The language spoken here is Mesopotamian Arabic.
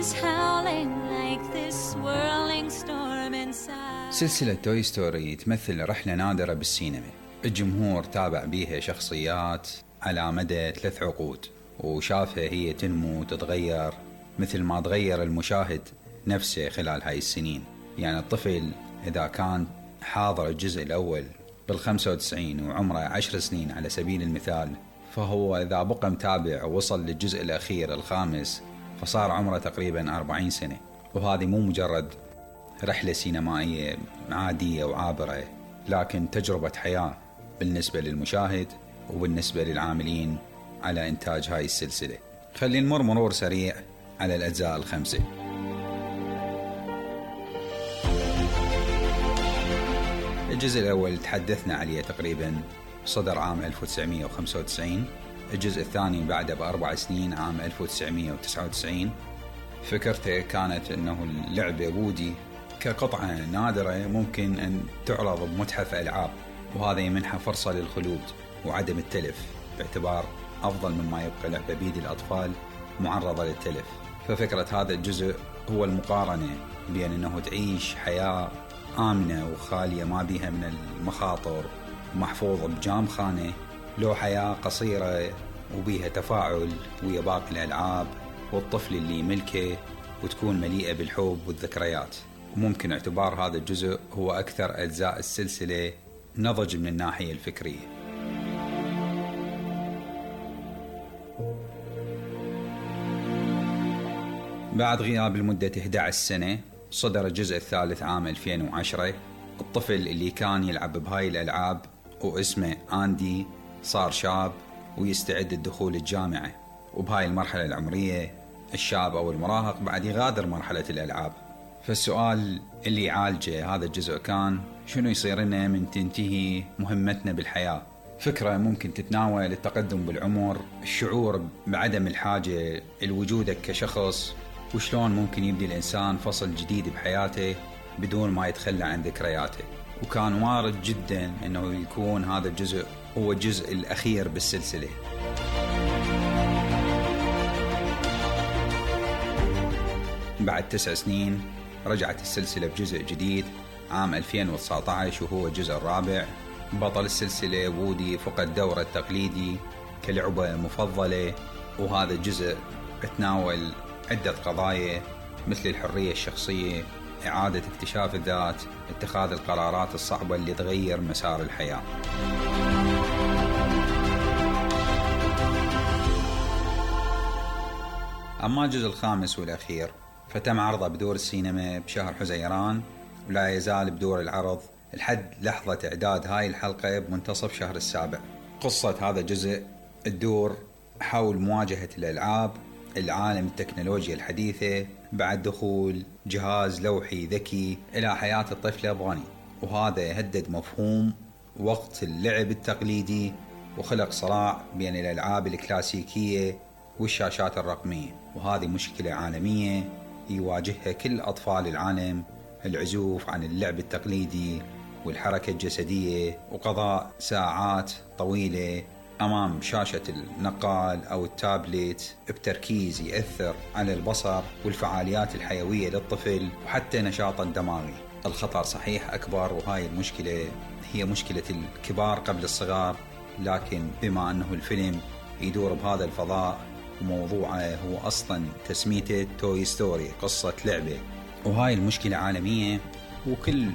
is howling like this swirling storm inside. سلسلة توي ستوري تمثل رحلة نادرة بالسينما. الجمهور تابع بيها شخصيات على مدى 3 عقود، وشافها هي تنمو وتتغير مثل ما تغير المشاهد نفسه خلال هاي السنين. يعني الطفل إذا كان حاضر الجزء الأول بال95 وعمره 10 سنين على سبيل المثال، فهو إذا بقى متابع ووصل للجزء الأخير الخامس فصار عمره تقريبا 40 سنة. وهذه مو مجرد رحلة سينمائية عادية وعابرة، لكن تجربة حياة بالنسبة للمشاهد وبالنسبة للعاملين على إنتاج هاي السلسلة. خلينا نمر مرور سريع على الأجزاء ال5. الجزء الأول تحدثنا عليه تقريبا، صدر عام 1995. الجزء الثاني بعده ب4 سنين عام 1999. فكرته كانت أنه اللعبة وودي كقطعة نادرة ممكن أن تعرض بمتحف ألعاب، وهذا يمنحها فرصة للخلود وعدم التلف، باعتبار أفضل مما يبقى لعبة بيد الأطفال معرضة للتلف. ففكرة هذا الجزء هو المقارنة بين أنه تعيش حياة آمنة وخالية ما بيها من المخاطر ومحفوظة بجام خانة، لو حياة قصيرة وبيها تفاعل ويا باقي الألعاب والطفل اللي يملكه وتكون مليئة بالحب والذكريات. وممكن اعتبار هذا الجزء هو أكثر أجزاء السلسلة نضج من الناحية الفكرية. بعد غياب لمدة 11 سنة صدر الجزء الثالث عام 2010. الطفل اللي كان يلعب بهاي الألعاب واسمه آندي صار شاب ويستعد للدخول الجامعة، وبهاي المرحلة العمرية الشاب أو المراهق بعد يغادر مرحلة الألعاب. فالسؤال اللي يعالجه هذا الجزء كان شنو يصير لنا من تنتهي مهمتنا بالحياة. فكرة ممكن تتناول التقدم بالعمر، الشعور بعدم الحاجة لوجودك كشخص، وشلون ممكن يبدي الإنسان فصل جديد بحياته بدون ما يتخلى عن ذكرياته. وكان وارد جدا أنه يكون هذا الجزء هو الجزء الأخير بالسلسلة. بعد 9 سنين رجعت السلسلة بجزء جديد عام 2019 وهو الجزء الرابع. بطل السلسلة وودي فقد دوره التقليدي كلعبة مفضلة، وهذا الجزء تناول عدة قضايا مثل الحرية الشخصية، إعادة اكتشاف الذات، اتخاذ القرارات الصعبة اللي تغير مسار الحياة. أما الجزء الخامس والأخير فتم عرضه بدور السينما بشهر حزيران، ولا يزال بدور العرض لحد لحظة إعداد هاي الحلقة بمنتصف شهر السابع. قصة هذا الجزء تدور حول مواجهة الألعاب العالم التكنولوجيا الحديثة بعد دخول جهاز لوحي ذكي إلى حياة الطفلة بوني، وهذا يهدد مفهوم وقت اللعب التقليدي وخلق صراع بين الألعاب الكلاسيكية والشاشات الرقمية. وهذه مشكلة عالمية يواجهها كل أطفال العالم، العزوف عن اللعب التقليدي والحركة الجسدية وقضاء ساعات طويلة أمام شاشة النقال أو التابلت بتركيز يأثر على البصر والفعاليات الحيوية للطفل وحتى نشاطه الدماغي. الخطر صحيح أكبر، وهاي المشكلة هي مشكلة الكبار قبل الصغار، لكن بما أنه الفيلم يدور بهذا الفضاء وموضوعه هو أصلا تسميته توي ستوري، قصة لعبة، وهاي المشكلة عالمية وكل